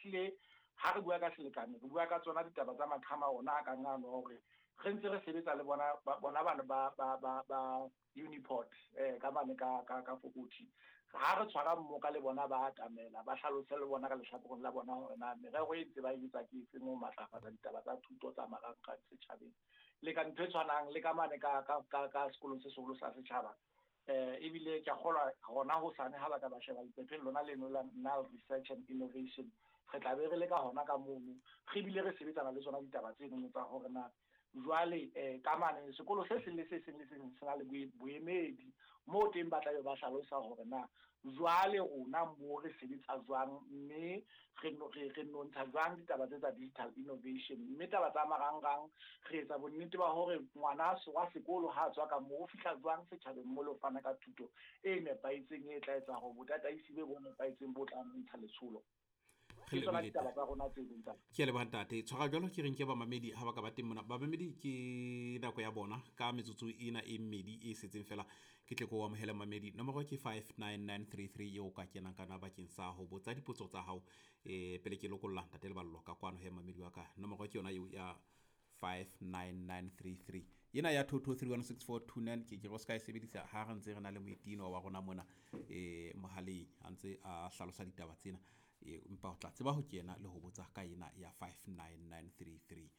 Ehlile ha re bua ka selekane, re bua ka tsona ditaba tsa maqhama ona a kang ano hore re ntse re sebetsa le bona bona bana ba Uniport ka mane ka Fokothi. Ha re tshwara mmoka le bona ba atamela, ba hlalose le bona ka lehlakoreng la bona hore na merero e ntse ba e etsa ke efeng ho matlafatsa ditaba tsa thuto tsa marangrang setjhabeng. Le ka ntho e tshwanang le ka mane ka sekolong se seholo sa setjhaba. Ebile ke a kgolwa hona hosane ha ba ka ba sheba leqepheng lona leno la Nal Research and Innovation, re tla be re le ka hona ka mono, re bile re sebetsana le tsona ditaba tseno tsa hore na jwale ka mane sekolo se seng le se seng le se seng se na le boemedi moo teng ba tla be ba hlalosa hore na jwale rona mo re sebetsa jwang, mme re nontsha jwang ditaba tse tsa digital innovation. Mme taba tsa marangrang re etsa bonnete ba hore ngwana wa sekolo ha tswa ka moo o fihla jwang setjhabeng mo le ho fana ka thuto e nepahetseng e tla etsa hore botataisi bo nepahetseng bo tla ntsha letsholo. Ke tsona ditaba tsa rona tse ding tsa. Ke a leboha ntate. Tshwara jwalo ke reng ke bamamedi ha ba ka ba teng mona. Bamamedi ke nako ya bona ka metsotso ena e mmedi e setseng fela ke tle ko amohele mamedi. Nomoro ke 59933 eo ka kenang kana bakeng sa ho botsa dipotso tsa hao pele ke lokolla ntate Leballo ka kwano he mamedi wa ka. Nomoro ke yona eo ya 59933. Ena ya 22316429 ke ro ska e sebedisa ha re ntse re na le moetino wa rona mona mohaleng a ntse a hlalosa ditaba tsena. Empa o tla tseba ho kena le ho botsa ka ena ya 59933.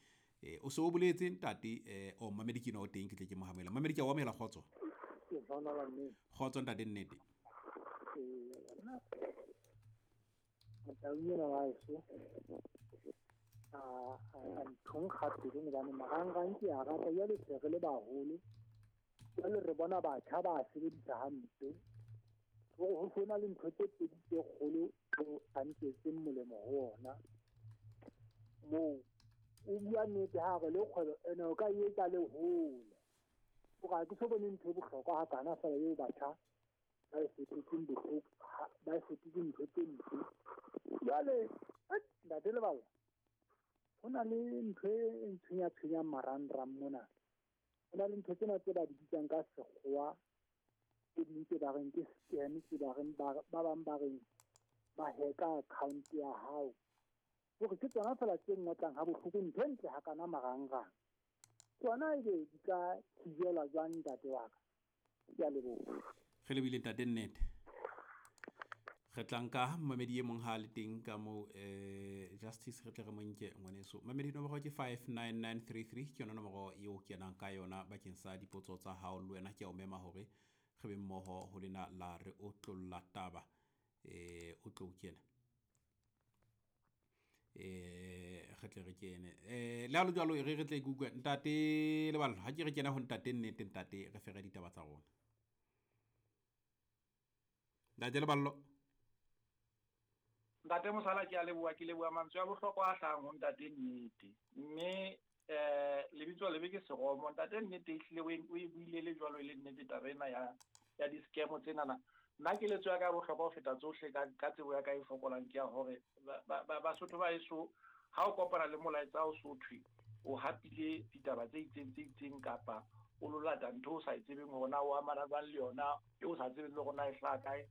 O se o boletse ntate o mamedi ke no o teng ke tle ke mo hamela. Mamedi ke a o amohela kgotso. Kgotso ntate nnete. A nthong gape le bana marangrang ke a rata jwale se re le baholo jwale re bona batjha ba sebedisa hampe hore ho sona le ntho tse pedi tse kgolo tseo a nketseng molemo ho ona moo o bua nnete ha re le kgwebo ene o ka etsa le hole hore ha ke so bone ntho e bohlokwa hakana fela eo batjha ba e fetotseng bohloko ba e fetotseng ntho tse mpe. Jwale ntate Leballo ho na le ntho e ntshwenya-tshwenyang marangrang mona. Ho na le ntho tsena tse ba di bitsang ka sekgowa tse ding tse ba reng ke scam, tse ba reng ba bang ba reng ba hacka account ya hao. Hore ke tsona fela tse ngotlang ha bohloko ntho e ntle hakana marangrang. Tsona ebe di ka thijelwa jwang ntate wa ka? Ke a leboha. Re lebile ntate nnete. Re tla nka mamedi e mong ha le teng ka mo Justice re tle re mo nke ngwaneso. Mamedi nomoro ke 59933 ke yona nomoro eo kenang ka yona bakeng sa dipotso tsa hao le wena ke a o mema hore re be mmoho ho lena la re o tlolla taba o tlo kena. Re tle re kene. Le ha le jwalo re re tle ke utlwe ntate Leballo ha ke re kena ho ntate nnete ntate re fere ditaba tsa rona. Ntate Leballo. Ntate Mosala ke a leboha, ke leboha mantswe a bohlokwa a hlahang ho ntate nnete. Mme lebitso lebe ke seromo. Ntate nnete ehlile o e buile le jwalo e le nnete taba ena ya di-scam tsenana. Nna keletso ya ka ya bohlokwa ho feta tsohle ka tsebo ya ka e fokolang ke ya hore Basotho ba heso ha o kopana le molaetsa o so thwe o hapile ditaba tse itseng tse itseng kapa o lo lata ntho o sa e tsebeng hore na o amana jwang le yona e o sa tsebeng le hore na e hlaha kae.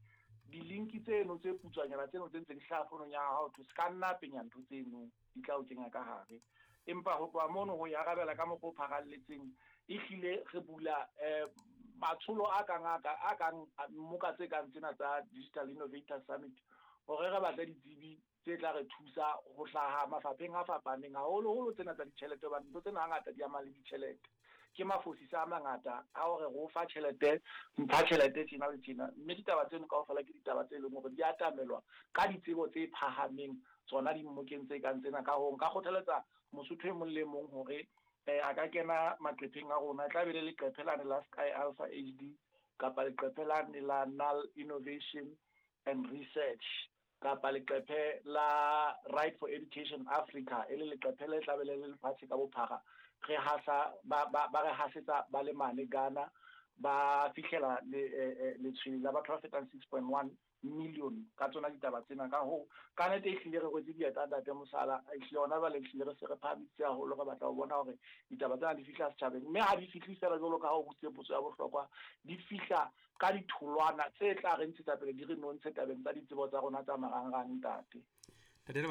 Di-link tseno tse putswanyana tseno tse ntse di hlaha founong ya hao se ka nna penya ntho tseno di tla o kenya ka hare. Empa ho tloha mono ho e arabela ka mokgwa o pharalletseng ehlile re bula matsholo a kang a kang mmoka tse kang tsena tsa Digital Innovator Summit hore re batle ditsebi tse tla re thusa ho hlaha mafapheng a fapaneng haholoholo tsena tsa ditjhelete hobane ntho tsena hangata di ama le ditjhelete. Ke mafosisa a mangata a hore re o fa tjhelete mpha tjhelete tjena le tjena mme ditaba tseno kaofela ke ditaba tse leng hore di atamelwa ka ditsebo tse phahameng tsona dimmokeng tse kang tsena. Ka hoo nka kgothaletsa Mosotho e mong le mong hore a ka kena maqepheng a rona, e tla be le leqephe lane la Sky Alpha HD kapa leqephe lane la Nal Innovation and Research kapa leqephe la Right for Education Africa e le leqephe le tla be le lefatshe ka bophara. Re hasa ba re hasetsa ba le mane Ghana ba fihlela letshwele la batho ba fetang 6.1 million ka tsona ditaba tsena. Ka hoo ka nnete ehlile re rwetse dieta ntate Mosala, ehlile hona jwale ehlile re se re phahamisitse haholo, re batla ho bona hore ditaba tsena di fihla setjhabeng mme ha di fihle fela jwalo ka ha o botsitse potso ya bohlokwa, di fihla ka ditholwana tse tla re ntshetsa pele di re nontshe tabeng tsa ditsebo tsa rona tsa marangrang ntate.